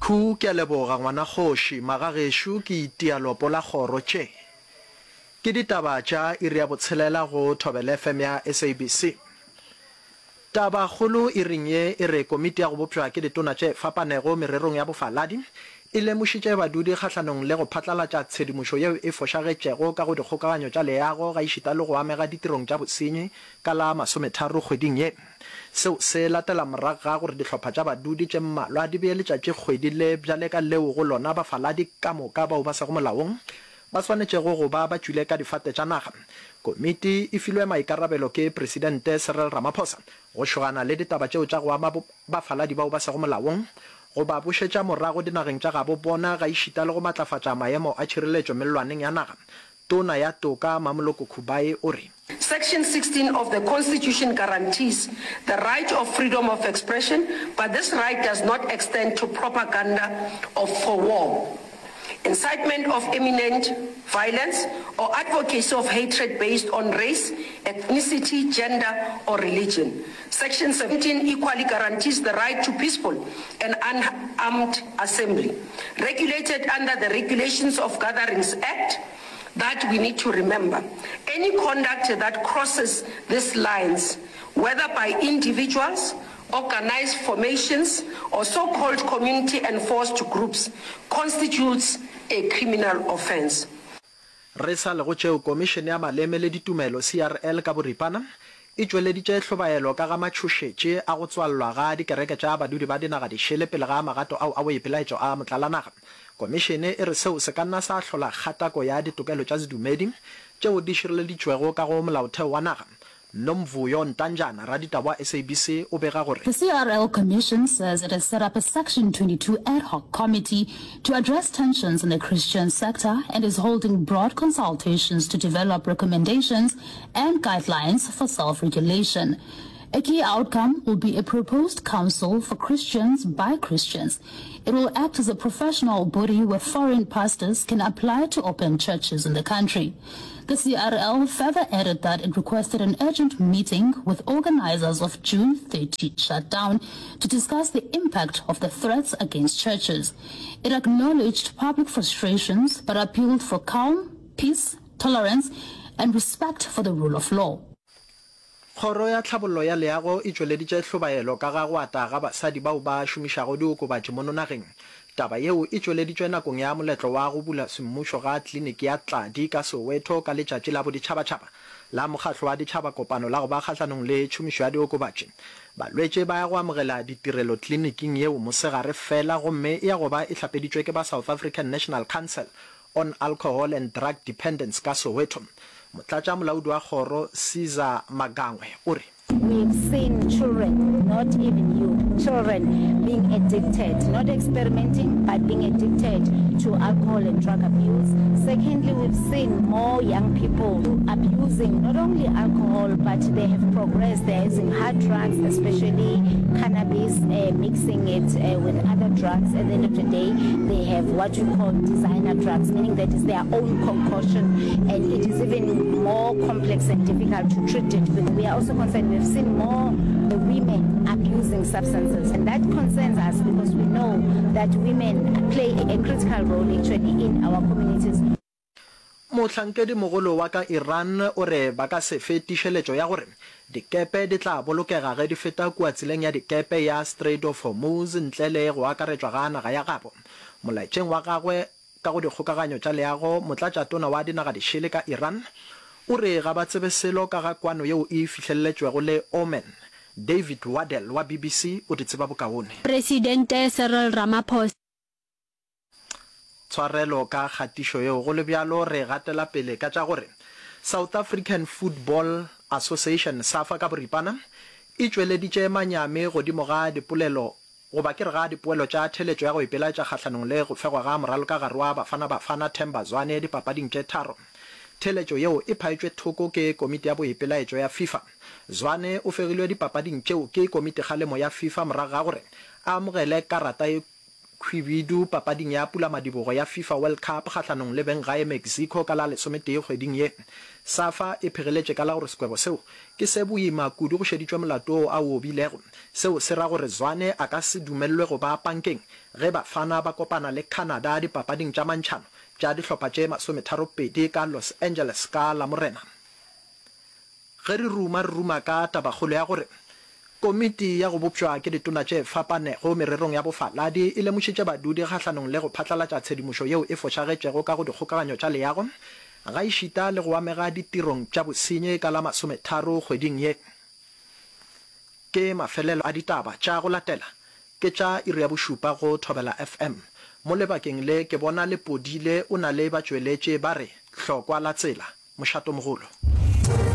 Khu, Ke a leboga ngwana kgoši, magagešo ke itia lopo la kgoro tše. Ke ditaba tša iri ya botshelela go Thobela FM ya SABC. Taba kgolo iring ye e re komiti ya go bopša ke ditona tše fapanego mererong ya bofaladi e lemošitše badudi kgahlanong le go phatlalatša tshedimošo yeo e fošagetšego ka go dikgokaganyo tša leago gaešita le go amega ditirong tša bosenyi ka la masometharo kgweding ye. Seo se latela morago ga gore dihlopha tša badudi tše mmalwa di bee letšatšikgwedi le bjale ka leo go lona bafaladi ka moka bao ba sego molaong ba swanetšego go ba ba tšwile ka difate tša naga. Komiti e filwe maikarabelo ke Presidente Cyril Ramaphosa go šogana le ditaba tšeo tša go ama bafaladi bao ba sego molaong, go ba bušetša morago dinageng tša gabo bona gaešita le go matlafatša maemo a tšhireletšo mellwaneng ya naga. Tona ya Toka Mamoloko Kubayi o re. Section 16 of the Constitution guarantees the right of freedom of expression, but this right does not extend to propaganda of for war, incitement of imminent violence, or advocacy of hatred based on race, ethnicity, gender, or religion. Section 17 equally guarantees the right to peaceful and unarmed assembly, regulated under the Regulations of Gatherings Act, that we need to remember. Any conduct that crosses these lines, whether by individuals, organized formations, or so-called community-enforced groups, constitutes a criminal offense. Re sa le go tšeo, Komišene ya Maleme le Ditumelo, CRL, ka boripana, e tšweleditše hlobaelo ka ga matšhošetše a go tswallwa ga dikereke tša badudi ba dinaga dišele pele ga magato ao a boipelaetšo a motlalanaga. Komišene e re seo se ka nna sa hlola kgatako ya ditokelo tša sedumedi tšeo di šireleditšwego ka go Molaotheo wa naga. Nomvuyo Ntanjana, raditaba wa SABC o bega gore. The CRL Commission says it has set up a Section 22 ad hoc committee to address tensions in the Christian sector and is holding broad consultations to develop recommendations and guidelines for self-regulation. A key outcome will be a proposed council for Christians by Christians. It will act as a professional body where foreign pastors can apply to open churches in the country. The CRL further added that it requested an urgent meeting with organizers of June 30 shutdown to discuss the impact of the threats against churches. It acknowledged public frustrations but appealed for calm, peace, tolerance and respect for the rule of law. Kgoro ya Tlhabollo ya Leago e tšweleditše hlobaelo ka ga go ata ga basadi bao ba šomišago diokobatši mono nageng. Taba yeo e tšweleditšwe nakong ya moletlo wa go bula semmušo ga kliniki ya Tladi ka Soweto ka letšatši la boditšhabatšhaba la Mokgahlo wa Ditšhaba Kopano la go ba kgahlanong le tšhomišo ya diokobatši. Balwetši ba ya go amogela ditirelo kliniking yeo mosegare fela gomme e ya go ba e hlapeditšwe ke ba South African National Council on Alcohol and Drug Dependence ka Soweto. Motlatšamolaodi wa kgoro Caesar Magangwe o re. We've seen children, not even youth, children being addicted, not experimenting, but being addicted to alcohol and drug abuse. Secondly, we've seen more young people abusing not only alcohol, but they have progressed. They're using hard drugs, especially cannabis, uh, mixing it uh, with other drugs. At the end of the day, they have what you call designer drugs, meaning that is their own concoction, and it is even more complex and difficult to treat it. But we are also concerned, we've seen more women abusing substances, and that concerns us because we know that women play a critical role actually in our communities. Mohlankedimogolo wa ka Iran o re ba ka se fe tiišeletšo ya gore dikepe di tla bolokega ge di feta kua tseleng ya dikepe ya Strait of Hormuz ntle le go akaretšwa ga naga ya gabo. Molaetšeng wa gagwe ka go dikgokaganyo tša leago, motlatšatona wa dinagadišele ka Iran o re ga ba tsebe selo ka ga kwano yeo e fihleleletšwego le Oman. David Waddell wa BBC o di tseba bokaone. Presidente Cyril Ramaphosa. Tshwarelo ka kgatišo yeo. Go le bjalo, re gatela pele ka tša gore South African Football Association, SAFA ka boripana, e tšweleditše manyami godimo ga dipolelo goba ke re ga dipoelo tša theletšo ya go ipelaetša kgahlanong le go fegwa ga moralokagare wa Bafana Bafana Themba Zwane dipapading tše tharo. Theletšo yeo e phaetšwe thoko ke komiti ya boipelaetšo ya FIFA. Zwane o fegilwe dipapading tšeo ke komitikgalemo ya FIFA morago ga gore a amogele karata e. Khwibidu papading ya pulamadibogo ya FIFA World Cup kgahlanong le benggae Mexico ka la lesometee kgweding ye. Safa e phegeletše ka la gore sekwebo seo ke se boima kudu go šeditšwe molato wo a o obilego. Seo se ra gore Zwane a ka se dumelelwe go ba pankeng ge Bafana ba kopana le Canada dipapading tša mantšhano tša dihlopha tše masometharopedi ka Los Angeles ka Lamorena. Ge re ruma, re ruma ka tabakgolo ya gore Komiti ya go bopšwa ke ditona tše fapanego mererong ya bofaladi e lemošitše badudi kgahlanong le go phatlalatša tshedimošo yeo e fošagetšego ka go dikgokaganyo tša leago gaešita le go amega ditirong tša bosenyi ka la masometharo kgweding ye. Ke mafelelo a ditaba tša go latela ke tša iri ya bošupa go Thobela FM. Mo lebakeng le ke bona Lepodile o na le batšweletši ba re hlokwa la tsela, mošatomogolo.